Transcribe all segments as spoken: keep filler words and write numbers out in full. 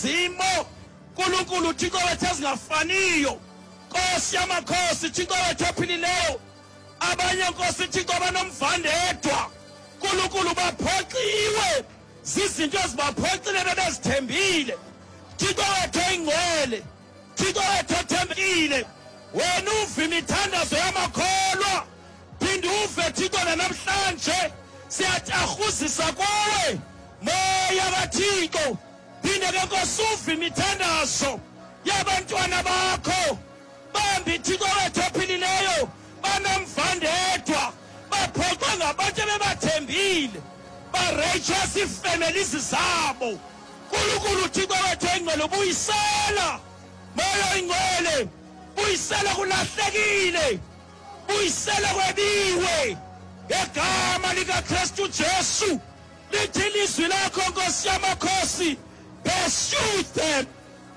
Bakwizimo Nkulunkulu Thixo wethu ezingafaniyo. Nkosi yamakhosi Thixo wethu ophilileyo, abanye Nkosi Thixo banomvandedwa, Nkulunkulu baphoxiwe zizinto ezibaphoxile bebezithembile. Thixo wethu oyingcwele, Thixo wethu othembekile, wena uve imithandazo yamakholwa, phinde uve Thixo nanamhlanje siyatarhuzisa kuwe Moya kaThixo. Phinde ke Nkosi uve imithandazo yabantwana bakho, bambi Thixo wethu ophilileyo banomvandedwa, baphoxwe ngabantu ebebathembile, bareyitshwa iifemelizi zabo. Nkulunkulu Thixo wethu oyingcwele, buyisela Moya oyingcwele, buyisela kulahlekile, buyisela kwebiwe ngegama likaKristu Jesu. Lithi ilizwi lakho Nkosi yamakhosi, pursue them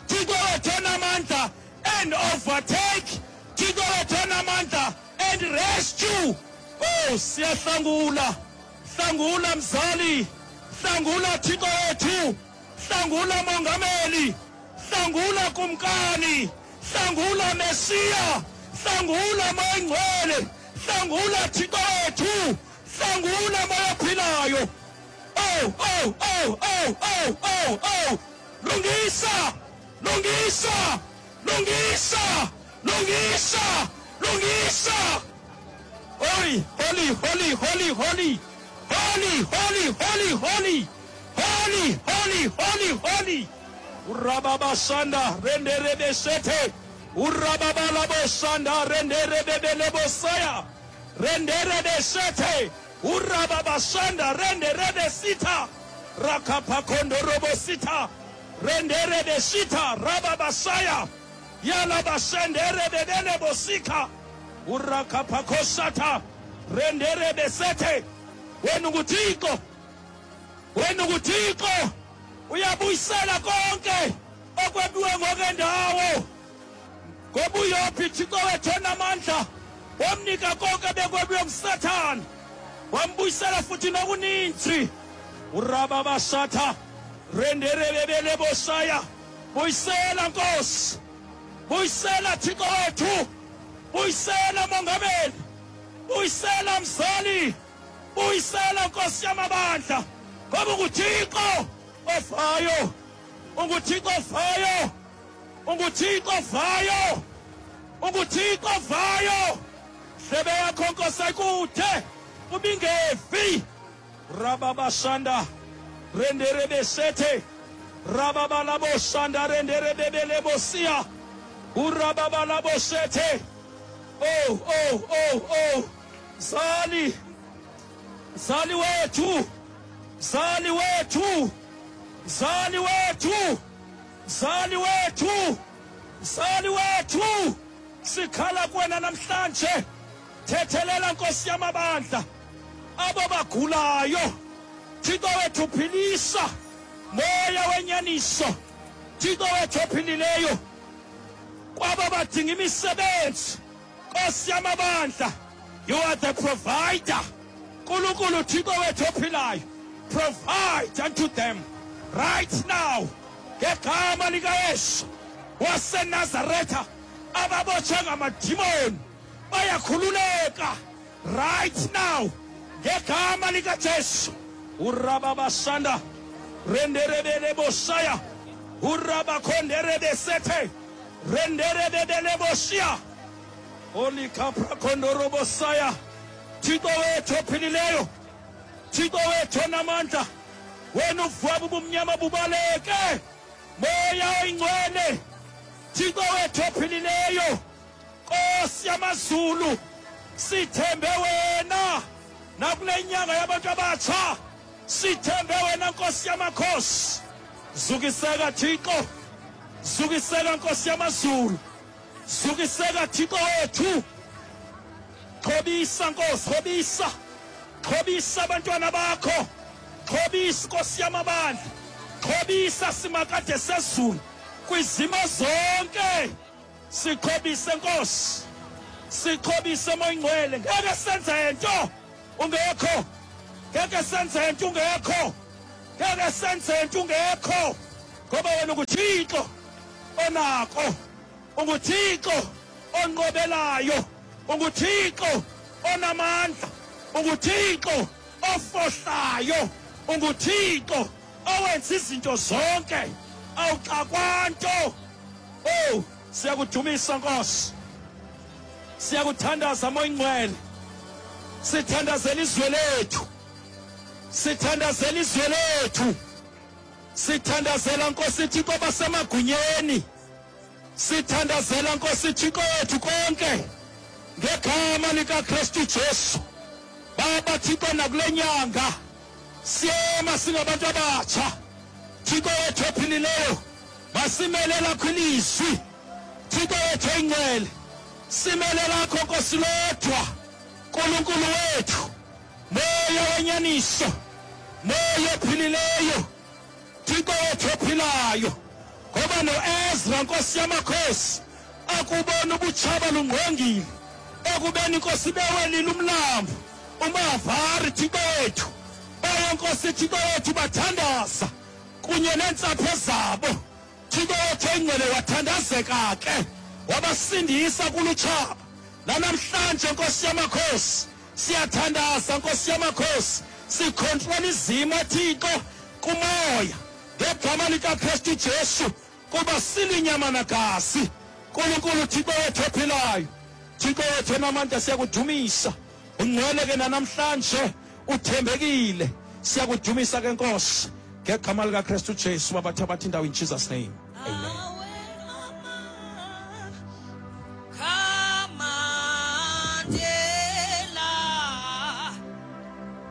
Thixo wethu onamandla and overtake, Thixo wethu onamandla and rescue. Oh, siyahlangula, hlangula mzali, hlangula Thixo wethu, hlangula mongameli, hlangula kumkani, hlangula Mesiya, hlangula Moya oyingcwele, hlangula Thixo wethu, hlangula Moya ophilayo. Oh, oh, oh, oh, oh, oh, oh. Lungisa, lungisa, lungisa, lungisa, lungisa. Holy, holy, holy, holy, holy, holy, holy, holy, holy, holy, holy, holy, holy. Urababashanda renderebeshete, urababalabosanda renderebebelebosaya, renderebeshete, urababashanda renderebesita, rakapakondorobosita, renderebeshita, rababasaya, yalabashenderebebelebosika, urakapakosata, renderebesete. Wena unguThixo, wena unguThixo, uyabuyisela konke okwebiwe ngokendawo. Ngoba uyophi Thixo wethu onamandla, wamnika konke bekwebiwe nguSathane, wambuyisela futhi nokuninzi. Urababashatha renderebebelebosaya, buyisela Nkosi, buyisela Thixo wethu, buyisela mongameli, buyisela mzali, buyisela Nkosi yamabandla, ngoba unguThixo ovayo, unguThixo ovayo, unguThixo ovayo, unguThixo ovayo. Ndlebe yakho Nkosi ayikude ubingevi. Rababashanda renderebesete, rababalabosanda renderebebelebosia, urababalabosete. Oh, oh, oh, oh, mzali, mzali wethu, mzali wethu, mzali wethu, mzali wethu, mzali wethu, sikhala kuwena namhlanje. Thethelela Nkosi yamabandla abo bagulayo. Thixo wethu philisa, Moya wenyaniso, Thixo wethu ophilileyo, kwabo badinga imisebenzi, Nkosi yamabandla, you are the provider. Nkulunkulu Thixo wethu ophilayo, provide unto them right now ngegama likaYesu waseNazaretha. Ababotshwe ngamadimoni bayakhululeka right now ngegama likaJesu. Urababashanda renderebelebosaya, urabakhonderebesethe, renderebebelebosia, olikaphrakondorobosaya. Thixo wethu ophilileyo, Thixo wethu onamandla, wena uvaba ubumnyama bubaleke. Moya oyingcwele, Thixo wethu ophilileyo, Nkosi yamazulu, sithembe wena nakule nyanga yabantu abatsha, sithembe wena Nkosi yamakhosi. Zukiseka Thixo, zukiseka Nkosi yamazulu, zukiseka Thixo wethu. Xhobisa Nkosi, xhobisa, xhobisa abantwana bakho, xhobisa Nkosi yamabandla, xhobisa simakade sezulu kwizimo zonke. Sixhobise Nkosi, sixhobise Moya oyingcwele. Ngeke senze nto ungekho, ngeke senze nto ungekho, ngeke senze nto ungekho. Ngoba wena unguThixo onako, unguThixo onqobelayo, unguThixo onamandla, unguThixo ofohlayo, unguThixo owenza izinto zonke, awuxakwanto. Oh, siyakudumisa Nkosi, siyakuthandaza Moya Ingcwele, sithandazela izwe lethu, sithandazela izwe lethu, sithandazela Nkosi Thixo basemagunyeni, sithandazela Nkosi Thixo yethu konke ngegama likaKristu Jesu. Baba Thixo, nakule nyanga siyema singabantu abatsha, Thixo wethu ophilileyo, masimele lakho ilizwi, Thixo wethu oyingcwele, simele lakho Nkosi lodwa, Nkulunkulu wethu, Moya wenyaniso, Moya ophilileyo, Thixo wethu ophilayo. Ngoba noEzra Nkosi yamakhosi akubona ubutshaba lungqongile, ekubeni Nkosi bewelile umlambo umavari, Thixo wethu, baye Nkosi Thixo wethu bathandaza kunye neentsapho zabo. Thixo wethu oyingcwele wathandazeka ke, wabasindisa kulutshaba. Nanamhlanje Nkosi yamakhosi siyathandaza Nkosi yamakhosi, sikhontrola izimo Thixo kumoya ngegama likaKristu Jesu, kuba silinyama nagazi. Nkulunkulu Thixo wethu ophilayo, Thixo wethu onamandla, siyakudumisa. Ungcwele ke nanamhlanje, uthembekile, siyakudumisa ke Nkosi ngegama likaKristu Jesu. Babathabatha indawo in Jesus name, amen.